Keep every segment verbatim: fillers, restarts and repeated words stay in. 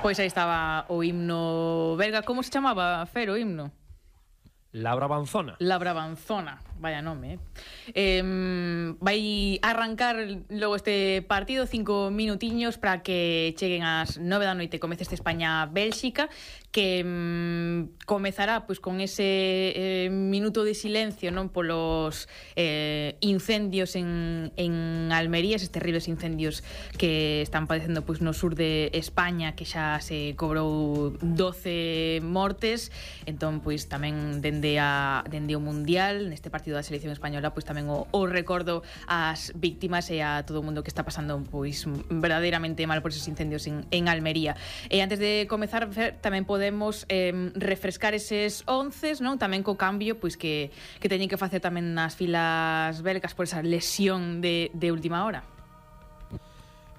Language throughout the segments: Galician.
Pois aí estaba o himno belga. Como se chamaba, Fer, o himno? La Brabanzona. La Brabanzona, vaya nome, eh? eh vai arrancar logo este partido, cinco minutiños para que cheguen as nove da noite, comece este España-Bélxica, que um, comezará pois con ese eh, minuto de silencio, non, polos eh, incendios en, en Almería, eses terribles incendios que están padecendo pois no sur de España, que xa se cobrou doce mortes. Entón, pois tamén dende a dende o Mundial, neste partido da selección española, pois tamén o, o recordo ás víctimas e a todo o mundo que está pasando pois verdadeiramente mal por esos incendios en, en Almería. E antes de comezar, tamén podemos eh, refrescar eses onces, non? Tamén co cambio pois que, que teñen que facer tamén nas filas belgas por esa lesión de, de última hora.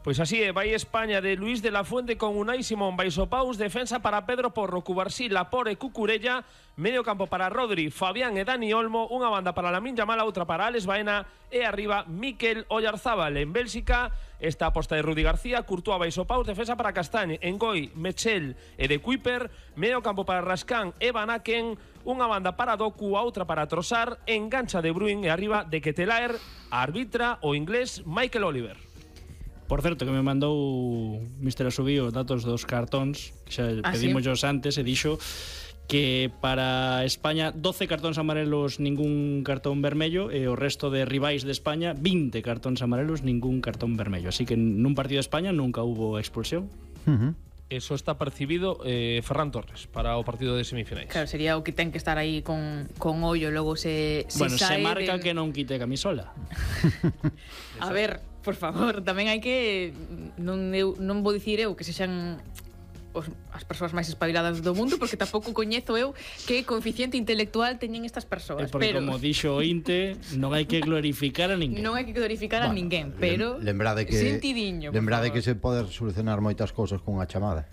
Pois así é, vai España de Luis de la Fuente con Unai Simón, Baisopaus, defensa para Pedro Porro, Cubarsí, Lapore, Cucurella, medio campo para Rodri, Fabián e Dani Olmo, unha banda para Lamine Yamal, outra para Alex Baena e arriba Mikel Oyarzábal. En Bélxica, esta aposta de Rudi García, Courtois, Baisopaus, defensa para Castagne, Engoi, Mechel e de Kuiper, medio campo para Rascán e Van Aken, unha banda para Doku, outra para Trossard, engancha de Bruyne e arriba de Ketelaer, arbitra o inglés Michael Oliver. Por certo, que me mandou mister Asubí os datos dos cartóns, que xa ah, pedimos ¿sí? antes, e dixo que para España doce cartóns amarelos, ningún cartón vermello, e o resto de rivais de España vinte cartóns amarelos, ningún cartón vermello. Así que nun partido de España nunca hubo expulsión. Uh-huh. Eso está percibido eh, Ferran Torres para o partido de semifinais. Claro, sería o que ten que estar aí con, con ollo, logo se, se bueno, sae se marca de... que non quite camisola. A ver, por favor, tamén hai que non, eu, non vou dicir eu que sexan os, as persoas máis espabiladas do mundo, porque tampouco coñezo eu que coeficiente intelectual teñen estas persoas. É porque, pero... como dixo o Inte, non hai que glorificar a ninguén. Non hai que glorificar bueno, a ninguén, pero lembrade que, sentidiño, lembrade que se pode solucionar moitas cousas cunha chamada.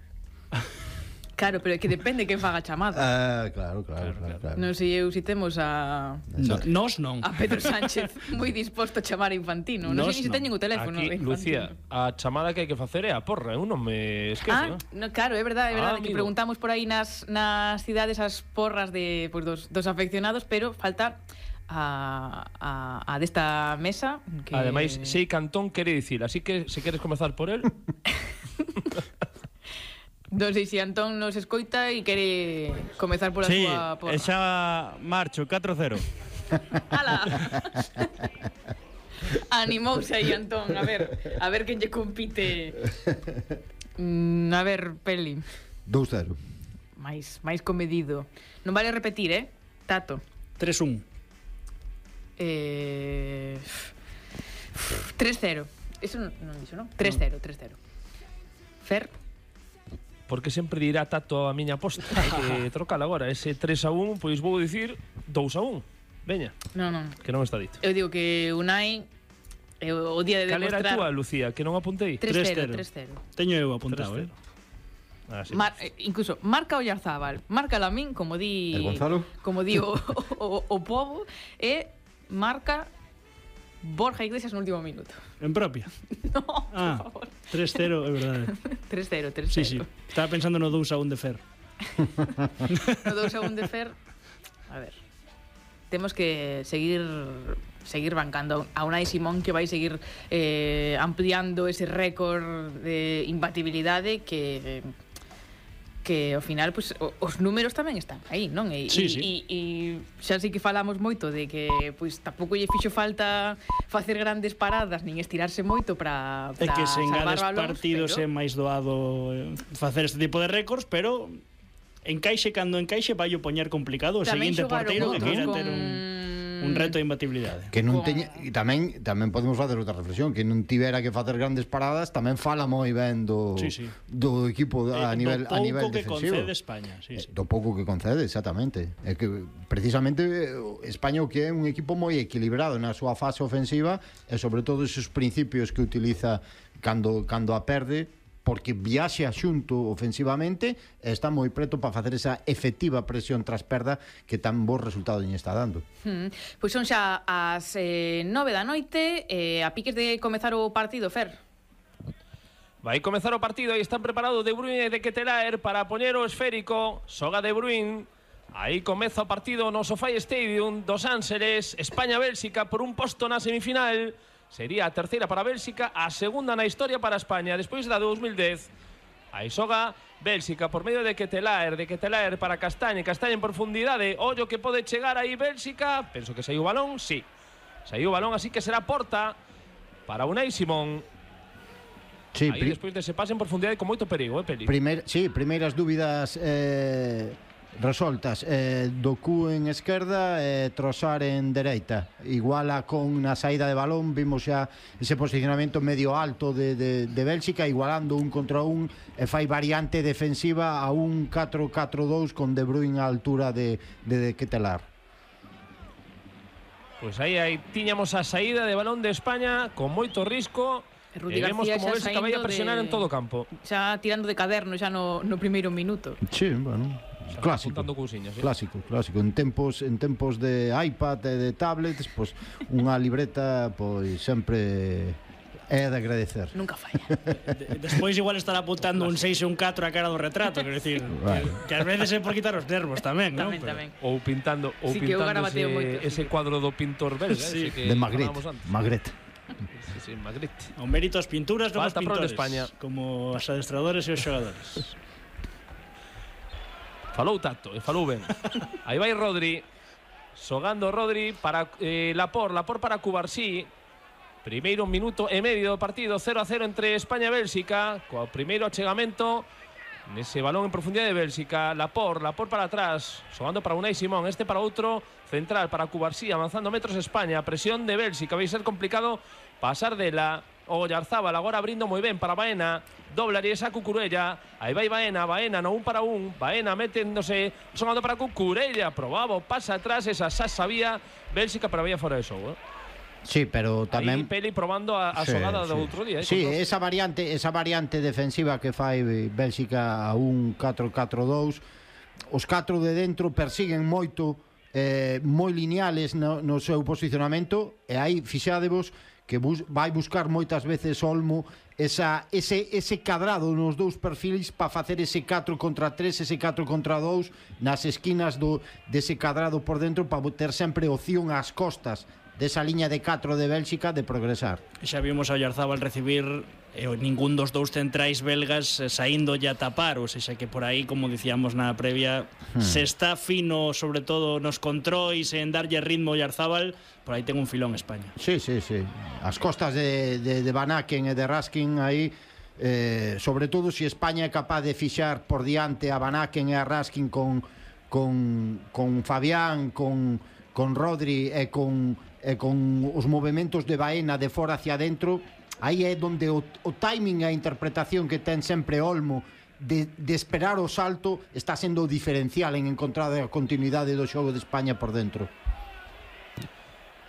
Claro, pero é que depende quen faga a chamada. Ah, claro, claro, claro, claro. Non sei eu si temos a... No, nos non. A Pedro Sánchez moi disposto a chamar a Infantino. Non sei se teñen o teléfono. Aquí, Lucía, a chamada que hai que facer é a porra. Eu non me esquezo. Ah, no, claro, é verdade, é verdade. Ah, que preguntamos por aí nas, nas cidades as porras de, pues, dos, dos afeccionados, pero falta... A, a, a desta mesa que... Ademais, sei Cantón quere dicir, así que se queres comezar por el. Non sei se Antón nos escoita e quere comezar por a sí, súa porra. Sí, xa marcho, catro cero. Ala. Animouse aí Antón, a ver, a ver quen lle compite. Mm, a ver, Peli. dous cero. Mais, máis comedido. Non vale repetir, eh? Tato. tres un. Eh... tres cero. Eso non, non dixo, non? tres cero, tres cero. Fer? Porque sempre dirá Tato a miña aposta. Hai que trocar agora. Ese tres a un, pois vou dicir dous a un. Veña. Non, non. Que non está dito. Eu digo que Unai é o día de demostrar... Cal era a túa, Lucía? Que non apuntei? tres cero, tres cero. Teño eu apuntado, eh? Ah, sí, Mar, eh, incluso marca Oyarzábal, marca Lamín, como di... El Gonzalo? Como di o, o, o povo, e marca Borja Iglesias no último minuto. En propia? No, ah, por favor. tres cero, é verdade. tres cero, tres cero. Sí, sí. Estaba pensando no dous a un de Fer. No dous a un de Fer. A ver. Temos que seguir seguir bancando a Unai Simón, que vai seguir eh, ampliando ese récord de imbatibilidade que... que ao final pues, os números tamén están aí, non? E, sí, e, sí. e, e xa sí que falamos moito de que pues, tampouco lle fixo falta facer grandes paradas nin estirarse moito para é que se engades balóns, partidos pero... é máis doado facer este tipo de récords, pero encaixe cando encaixe vai o poñer complicado o tamén seguinte porteiro que queira con... ter un un reto de imbatibilidade. Que non teña, e tamén tamén podemos facer outra reflexión, que non tivera que facer grandes paradas, tamén fala moi ben do sí, sí. do equipo a eh, nivel do a nivel que defensivo. concede España, sí, sí. Do pouco que concede, exactamente. É que precisamente España o que é un equipo moi equilibrado na súa fase ofensiva e sobre todo esos principios que utiliza cando cando a perde, porque viaxe xunto ofensivamente e está moi preto para facer esa efectiva presión tras perda que tan bo resultado lle está dando. Hmm. Pois son xa as eh, nove da noite, eh, a piques de comezar o partido, Fer. Vai comezar o partido, aí están preparados De Bruyne e De Ketelaere para poñer o esférico. Xoga De Bruyne. Aí comeza o partido no SoFi Stadium dos Ángeles. España-Bélxica por un posto na semifinal. Sería a terceira para Bélxica, a segunda na historia para España, despois da de dos mil dez. Aí xoga Bélxica por medio de Ketelaere, de Ketelaere para Castañe, Castañe en profundidade. Ollo que pode chegar aí Bélxica. Penso que saiu o balón, sí. Saiu o balón, así que será porta para Unai Simón. Sí, aí despois de ese pase en profundidade con moito perigo, eh, Peli? Primeir, sí, primeiras dúbidas eh, resoltas. Eh, Doku en esquerda e eh, Trossard en dereita. Iguala con na saída de balón, vimos xa ese posicionamento medio alto de, de, de Bélxica, igualando un contra un e fai variante defensiva a un catro catro dous con De Bruyne á altura de, de, de Ketelaere. Pois aí, aí tiñamos a saída de balón de España con moito risco. E vemos como Bélxica vai a presionar de... en todo o campo. Xa tirando de caderno xa no, no primeiro minuto. Sí, bueno, clásico. Cousiñas, ¿sí? Clásico, clásico. En tempos en tempos de iPad e de tablets, pois pues, unha libreta pois sempre é de agradecer. Nunca falla. De, despois igual estará apuntando un seis e un catro a cara do retrato, quero dicir, Vale. que, que ás veces é por quitar os nervos tamén, non? Tamén, tamén. Ou pintando, ou Sí, que o pintando garabateo ese, moito, ese sí. cuadro do pintor belga, Sí. ese que De Magritte, falábamos antes. Magritte. Sí, sí, Magritte. O mérito as pinturas non os Falta pro de pintores, España. como os adestradores e os xogadores. Falou Tato, e falou ben. Aí vai Rodri. Xogando Rodri para eh, Laporte, Laporte para Cubarsí. Primeiro minuto e medio do partido, cero a cero entre España e Bélxica. Co primeiro achegamento nese balón en profundidade de Bélxica. Laporte, Laporte para atrás, xogando para Unai Simón, este para outro central, para Cubarsí, avanzando metros España. Presión de Bélxica, vai ser complicado pasar dela. O Oyarzábal agora abrindo moi ben para Baena. Doblaría esa Cucurella. Aí vai Baena, Baena no un para un. Baena meténdose, xogando para Cucurella. Probaba, pasa atrás, esa xa sabía Bélxica, pero había fora de xogo, eh? Sí, pero tamén Aí Peli probando a, a sí, xogada sí. do outro día, eh, Sí, con dos. esa variante, esa variante defensiva que fai Bélxica a un catro catro dous. Os catro de dentro persiguen moito, eh, moi lineales no, no seu posicionamento, e aí fixadevos que bus, vai buscar moitas veces Olmo esa, ese, ese cadrado nos dous perfis para facer ese catro contra tres, ese catro contra dous nas esquinas do, dese cadrado por dentro, para ter sempre opción ás costas desa liña de catro de Bélxica de progresar. Xa vimos a Oyarzábal recibir eh, ningún dos dous centrais belgas eh, saindo ya a tapar, ou seja que por aí, como dicíamos na previa, hmm. se está fino, sobre todo nos controis, en darlle ritmo a Oyarzábal, por aí ten un filón España. Sí, sí, sí. As costas de, de, de Van Aken e de Raskin aí, eh, sobre todo se si España é capaz de fixar por diante a Van Aken e a Raskin con, con, con Fabián, con, con Rodri e con e con os movementos de Baena de fora hacia dentro, aí é onde o, o timing e a interpretación que ten sempre Olmo de, de esperar o salto está sendo diferencial en encontrar a continuidade do xogo de España por dentro.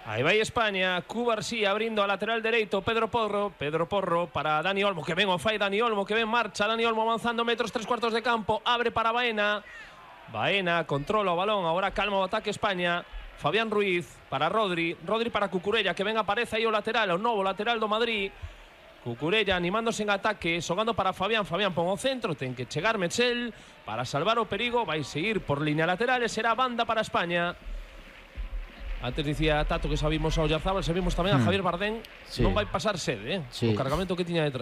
Aí vai España, Cubarsí abrindo a lateral dereito, Pedro Porro, Pedro Porro para Dani Olmo, que ven o fai Dani Olmo, que ven marcha, Dani Olmo avanzando metros, tres cuartos de campo, abre para Baena, Baena controla o balón, agora calma o ataque España. Fabián Ruiz para Rodri, Rodri para Cucurella, que ven aparece aí o lateral, o novo lateral do Madrid. Cucurella animándose en ataque, xogando para Fabián, Fabián pon o centro, ten que chegar Metzel para salvar o perigo, vai seguir por línea lateral e será banda para España. Antes dicía Tato que sabimos a Oyarzábal, sabimos tamén a Javier Bardem, sí. Non vai pasar sede, eh? Sí. O cargamento que tiña detrás.